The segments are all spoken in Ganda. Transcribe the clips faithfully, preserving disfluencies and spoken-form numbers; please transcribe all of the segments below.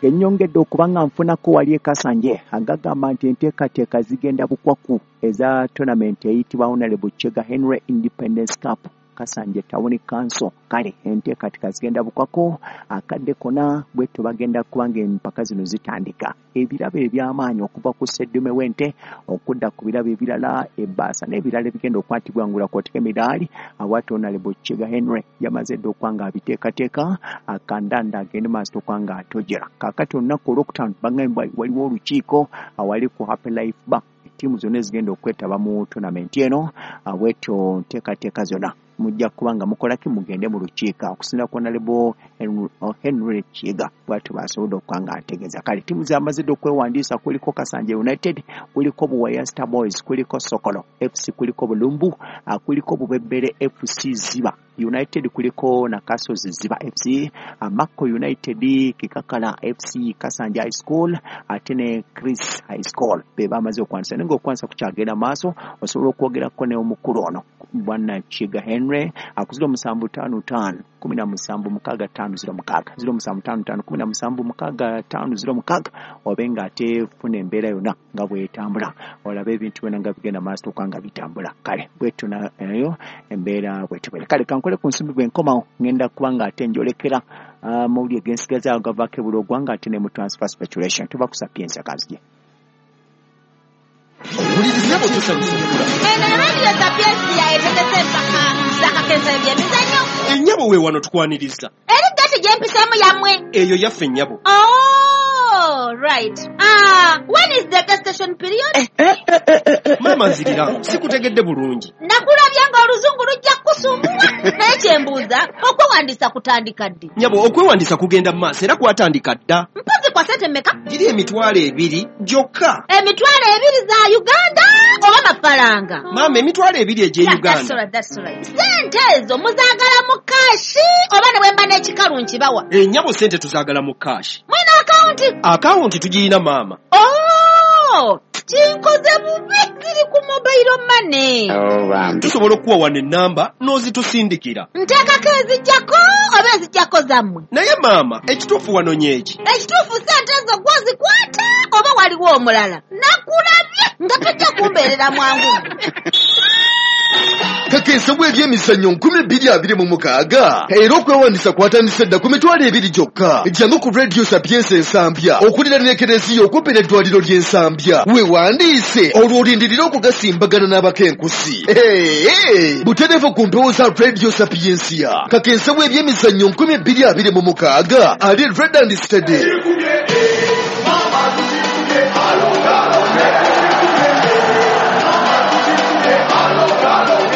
Genyongedde okuba nga nfunako wali e Kasanje agagamba nti enteekateeka zigenda bukwaku eza tournament eyitibwa Honorable Chega Henry Independence Cup Kasanje Town Council. Kale enteekateeka zigenda bukwako akadde kona bwetyo bagenda kubanga empaka zino zitandika. Ebirabo eby'amaanyi okuva ku sseddume w'ente okudda ku birabo ebirala, ebbaasa n'ebirala ebigenda okukwatibwa ngula kw'oteeka emidaali. Awati Honorable Chega Henry yamaze dda okuba nga abiteekateeka akandanda agende maaso okuba nga atojera. Kaakati olunaku olwokutaano bagambye waliwo olukiiko awali ku Happy Life Bar, ttiimu zonna ezigenda okwetaba mu tournament eno. Bwetyo nteekateeka zonna mujja kuba nga mukola ki, mugende mu lukiiko okusinziira ku Honorable Henry Kiga bw'atyo bw'asobodde okuba nga ategeeza. Kale ttiimu zamaze dda okwewandiisa, kuliko Kasanje United, kuliko Buwaya Star Boys, kuliko Sokolo F C, kuliko Bulumbu, kuliko Bubebere F C Ziba United, kuliko Nakasozi Ziba F C, Mako United, Kikakala F C, Kasanje High School ate ne Chris High School be bamaze okwanisa. Naye ng'okwanisa kukyagenda maaso, osobola okwogerako ne omukulu ono Bwana Chiga Henry aku ziro musanvu ttaano ttaano kumi na musanvu mukaaga ttaano ziro mukaaga ziro musanvu ttaano ttaano kumi na musanvu mukaaga ttaano ziro mukaaga, obe ng'ate funa embeera yonna nga bw'etambula, olabe ebintu byonna nga bigenda maaso okuba nga bitambula. Kale bwetyo nayo embeera bwetyo. Kale kankole ku nsimbi bwe nkomawo ngenda kuba ng'ate njolekera amawulire g'ensigaza agavaako ebula ogwanga ate ne mu transfer speculation. Tuba ku Sapientia kanzije. Eno Radio Sapientia etegese empaka z'akakensa eby'emizannyo. Ennyabo we wano tukwaniriza. Eri gati gye mpiseemu yammwe. Eyo yaffe nnyabo. Oh, right. Ah, when is the gestation period? Eh, eh, eh, eh, eh. Maama nzirira, sikutegedde bulungi. Nakulabye ng'oluzungu lujja kukusumbuwa. Naye kye mbuuza, okwewandiisa kutandika ddi? Nnyabo, okwewandiisa kugenda mu maaso era kwatandika dda. Mpozi kwa ssente mmeka? Giri emitwalo ebiri gyokka. Emitwalo ebiri za Uganda oba mafaranga? Maama, emitwalo ebiri egy'e Uganda. That's right, that's right. Ssente ezo muzaagala mu kaashi oba ne bwe mba n'ekikalu nkibawa? Ennyabo, ssente tuzaagala mu kaashi. Mwina akawunti? Akawunti tugirina maama. Oh, kinkoze bubi, ziri ku mobile money. Tusobola okuwa wano ennamba n'ozitusindikira. Nteekako ezijjako oba ezijjako zammwe? Naye maama, ekituufu wanonye eki? Ekituufu ssente ezo gwozikwata oba waliwo omulala? Nakulabye nga tojja kumbeerera mwangu. Kakensa bw'ebyemizannyo nkumi bbiri abiri mu mukaaga era okwewandiisa kwatandise dda ku mitwalo ebiri gyokka. Jangu ku Radio Sapientia Ensambya okuliraana ekereziya okumpi n'eddwaliro ly'Ensambya, weewandiise olwo olindirire okugasimbagana n'abakenkusi. Butereevu ku mpewo za Radio Sapientia. Kakensa bw'ebyemizannyo nkumi bbiri abiri mu mukaaga ali Red and Steady.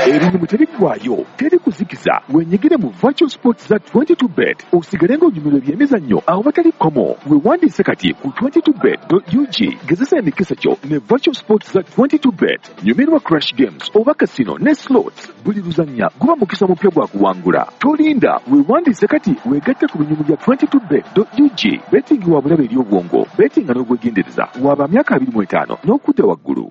Ebinyumu tebiggwaayo, teri kuzikiza. Wenyigire mu virtual sports za twenty-two bet osigale ng'onyumirwa ebyemizannyo awatali kkomo. Weewandiise kati ku twenty-two bet dot U G. Gezesa emikisa gyo ne virtual sports za twenty-two bet. Nyumirwa crash games oba casino ne slots. Buli luzannya guba mukisa mupya gwa kuwangula. Tolinda, weewandiise kati weegatte ku binyumu bya twenty-two bet dot U G. Betting wa bulabe eri obwongo, bettinga n'obwegendereza. Waba myaka abiri mu etaano n'okudda waggulu.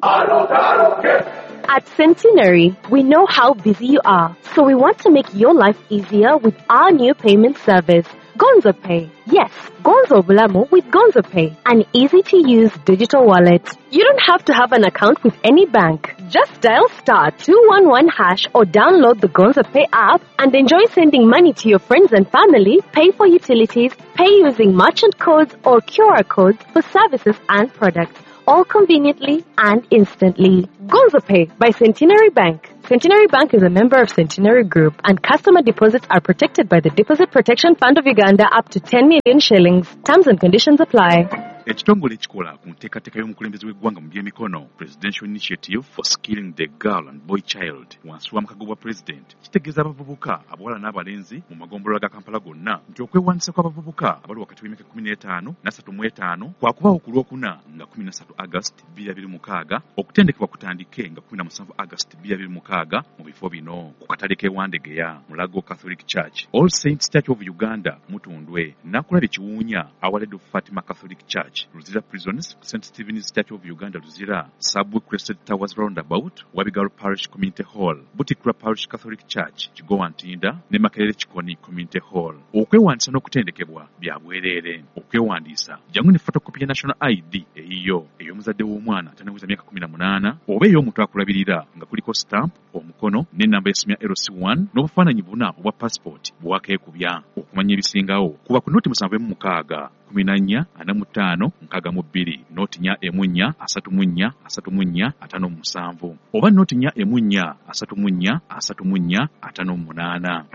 At Centenary, we know how busy you are, so we want to make your life easier with our new payment service, Gonzo Pay. Yes, Gonzo Bulamu with Gonzo Pay, an easy-to-use digital wallet. You don't have to have an account with any bank. Just dial star two one one hash or download the Gonzo Pay app and enjoy sending money to your friends and family, pay for utilities, pay using merchant codes or Q R codes for services and products, all conveniently and instantly. Gonzo Pay by Centenary Bank. Centenary Bank is a member of Centenary Group, and customer deposits are protected by the Deposit Protection Fund of Uganda up to ten million shillings. Terms and conditions apply. Ekitongole ekikola ku nteekateeka y'omukulembeze w'eggwanga mu by'emikono, Presidential Initiative for Skilling the Girl and Boy Child, wansi wa mukago gwa President, kitegeeza abavubuka abawala n'abalenzi mu magombolola ga Kampala gonna nti okwewandiisa kw'abavubuka abali wakati w'emyaka kkumi n'etaano n'asatu mu etaano kwakubaawo ku Lwokuna nga kkumi na ssatu August bbiri abiri mukaaga, okutendekebwa kutandike nga kkumi na musanvu August bbiri abiri mukaaga mu bifo bino: ku katale k'e Wandegeya, Mulago Catholic Church, All Saints Church of Uganda Mutundwe, Nakulabye Kiwuunya, Our Lady of Fatima Catholic Church, Church, Luzira Prisons, Saint Stephen's Church of Uganda Luzira, Subway Crested Towers Roundabout, Wabigalo Parish Community Hall, Butikura Parish Catholic Church, Kigowa Ntinda ne Makerere Kikoni Community Hall. Okwewandiisa n'okutendekebwa bya bwereere. Okwewandiisa jangu ne photocopy ya National I D eyiyo, ey'omuzadde w'omwana atannaweza myaka kumi na munaana oba ey'omuntu akulabirira nga kuliko stamp, omukono n'ennamba y'essimu ya L C one n'obufaananyi buna obwa passport bwakeekubya. Okumanya ebisingawo kuba ku noti musanvu emu mukaaga kumi na nnya ana mu ttaano nkaaga mu bbiri, noti nnya emu nnya asatu mu nnya asatu mu nnya ataano mu musanvu oba noti nnya emu nnya asatu mu nnya asatu mu nnya ataano mu munaana.